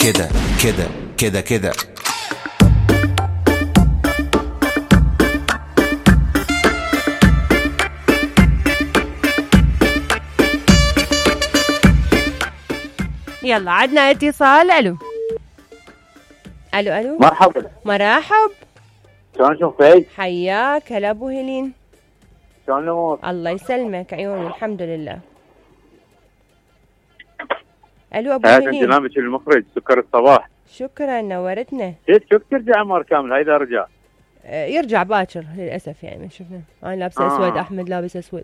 كده كده كده كده. يلا عدنا اتصال. الو الو الو مرحبا. مرحب. شلون شوفك؟ حياك. هلا ابو هيلين. شلون الامور؟ الله يسلمك عيوني الحمد لله. الو ابو هذا هيلين. برنامج المخرج سكر الصباح. شكرا نورتنا. شوف ترجع عمر كامل هاي اذا رجع. يرجع باكر للاسف يعني ما شفنا. انا لابسه اسود احمد لابس اسود.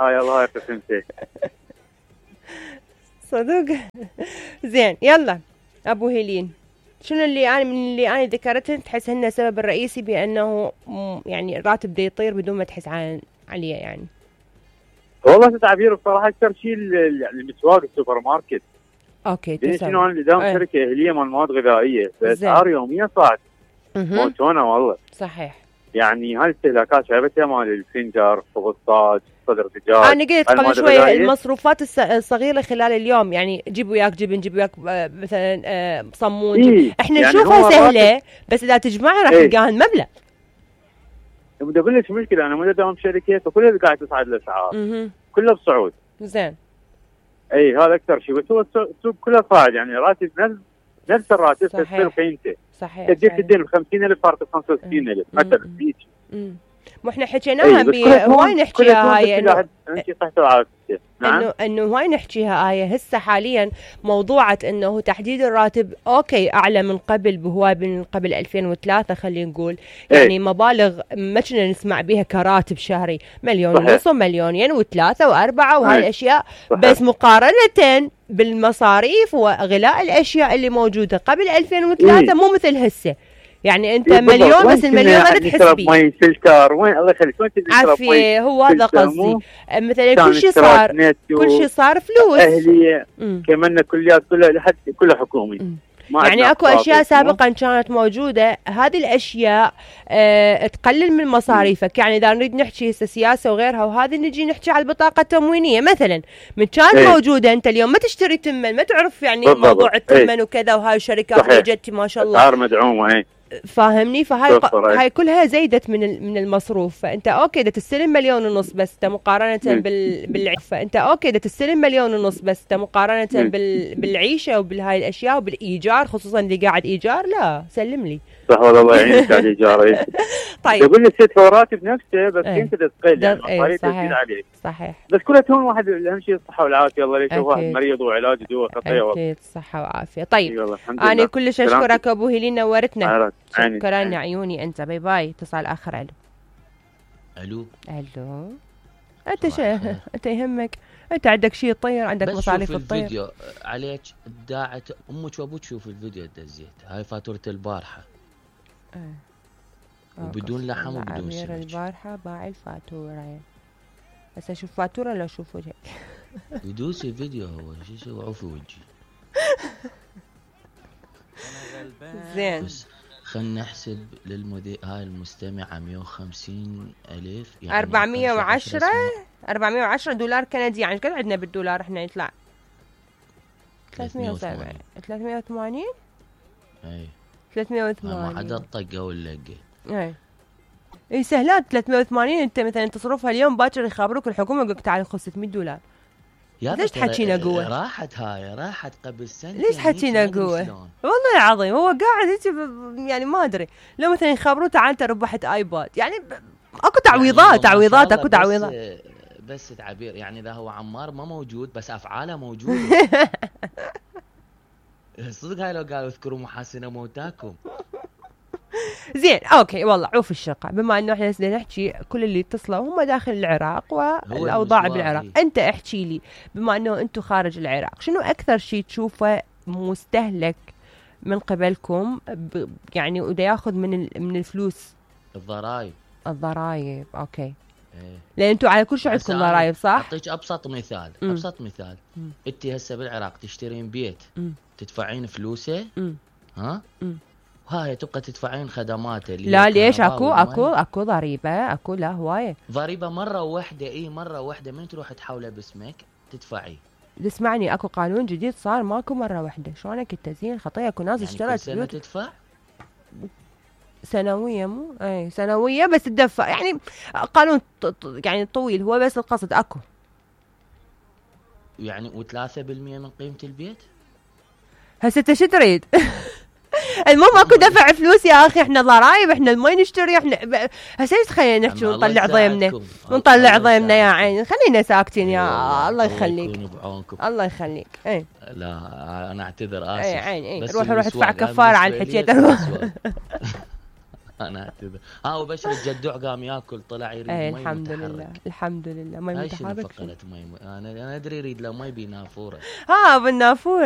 يلا هاي قسمتك. صدق. زين يلا ابو هيلين، شنو اللي انا من اللي انا ذكرته تحس انه السبب الرئيسي بانه يعني الراتب دا يطير بدون ما تحس عليه يعني؟ والله تعبير بصراحه اكثر شيء المسواق السوبر ماركت. اوكي تسوي شنو انا دام شركه اهليه مال مواد غذائيه فاسعار يوميا صاعد موتونا والله. صحيح. يعني هاي الاستهلاكات شايفتها مال الفنجر خبزات صدر دجاج. انا قلت قبل شوي المصروفات الصغيره خلال اليوم، يعني جيب وياك جبن، جيب وياك مثلا صمون. احنا يعني نشوفها سهله بس اذا تجمعها راح تلقاها المبلغ. بدي اقول لك مشكله، انا مدام شركه فكلها قاعد تصعد الاسعار كلها بصعود. زين. اي هذا اكثر شيء، بس هو السوق كله صاعد يعني راتب نفس الراتب تصير قيمته. صحيح. تجيك الدين ب 50,000 صارت ب 65,000 مثلا هيك. مو احنا حكيناها هواي نحكيها هاي انه هواي نحكيها هاي هسه حاليا موضوعة انه تحديد الراتب اوكي اعلى من قبل بهواي من قبل 2003 خلينا نقول. يعني مبالغ ما كنا نسمع بها كراتب شهري 1.5 مليون ومليونين وثلاثة وأربعة وهاي الاشياء. بس مقارنة بالمصاريف وغلاء الاشياء اللي موجودة قبل 2003 مو مثل هسه. يعني انت مليون بس المليون ما تحس بيه. ماي فلتر وين الله يخليك وين عافية هو هذا قصدي. مثلا كل شيء صار فلوس اهلية كمان كليات كلها حكومي. يعني اكو اشياء سابقا كانت موجودة هذه الاشياء تقلل من مصاريفك. يعني اذا نريد نحكي سياسة وغيرها وهذه نجي نحكي على البطاقة التموينية مثلا من كانت موجودة. انت اليوم ما تشتري تمن ما تعرف يعني موضوع التمن وكذا وهاي الشركات جت ما شاء الله اسعار مدعومة. فاهمني؟ هاي كلها زيدت من المصروف. فانت اوكي دا تستلم 1.5 مليون بس مقارنه فانت اوكي دا تستلم 1.5 مليون بس مقارنه بالعيشه وبالهاي الاشياء وبالايجار، خصوصا اللي قاعد ايجار. لا سلم لي. صح والله الله يعينك على الايجار. طيب يقول لي الست راتب نفسه بس انت تقل يعني مصاريف تزيد عليك. صحيح. بس كلها تهون واحد اهم شيء الصحه والعافيه. الله يشوف واحد مريض وعلاج دواء خطيه. اكيد صحه وعافيه. طيب انا كلش اشكرك ابو هيلين نورتنا. شكرا يا عيوني انت. باي باي. اتصال اخر. الو انت يهمك انت عندك شيء يطير، عندك مصاريف تطير. بس الفيديو عليك داعت امك وابوك شوف الفيديو دزيت هاي فاتوره البارحه وبدون لحم وبدون سمك. البارحه باع الفاتوره. بس اشوف فاتوره لو اشوف وجهك. يدوس الفيديو هو شو يسوي عوفي وجهي. زين خلنا نحسب للمذيع هاي المستمعة 150,000 يعني 410 دولار كندي. يعني قد عندنا بالدولار احنا يطلع 380. اي 380 ما حدا طقه ولا لقه. اي سهلات 380. انت مثلا تصرفها اليوم باكر يخابروك الحكومه يقول لك تعال خذ 600 دولار. ليش تحكينا قوه؟ راحت قبل سنه. ليش حكينا قوه؟ والله العظيم هو قاعد هيك يعني ما ادري. لو مثلا يخبروه تعال انت ربحت ايباد يعني اكو تعويضات يعني اكو تعويضات. بس تعبير يعني اذا هو عمار ما موجود بس افعاله موجوده. صدق هاي لو قالوا اذكروا محاسن موتاكم. زين اوكي والله عوف الشقة. بما انه احنا نحكي كل اللي اتصلوا هم داخل العراق والاوضاع بالعراق. انت احكي لي بما انه انتم خارج العراق شنو اكثر شيء تشوفه مستهلك من قبلكم يعني ودا ياخذ من الفلوس؟ الضرائب اوكي. لان انتم على كل شيء عندكم ضرائب صح؟ اعطيك ابسط مثال. انت هسه بالعراق تشترين بيت تدفعين فلوسه ها هاي تبقى تدفعين خدماته. لا ليش اكو ضريبه لا هوايه ضريبه مره واحده. مره واحده من تروح تحوله باسمك تدفعي تسمعني اكو قانون جديد صار ماكو مره واحده، شلونك التزيين خطيه، اكو ناس يعني اشترت كل سنه تدفع سنويه، مو اي سنويه بس تدفع، يعني قانون يعني طويل هو، بس القصد اكو يعني و3% من قيمه البيت. هسه انت شو تريد؟ المهم اكو دفع فلوس يا اخي، احنا ضرايب، احنا ما نشتري، احنا هسه خلينا نحكي ونطلع ضيمنا ونطلع ضيمنا يا عيني، خلينا ساكتين يا الله يخليك الله يخليك. اي لا انا اعتذر اسف. اي عيني روح ادفع كفاره على الحكي. انا اعتذر. وبشر الجدوع قام ياكل طلع يريد مي. الحمد لله الحمد لله مي متحرك. انا ادري يريد له مي بنافوره. بالنافوره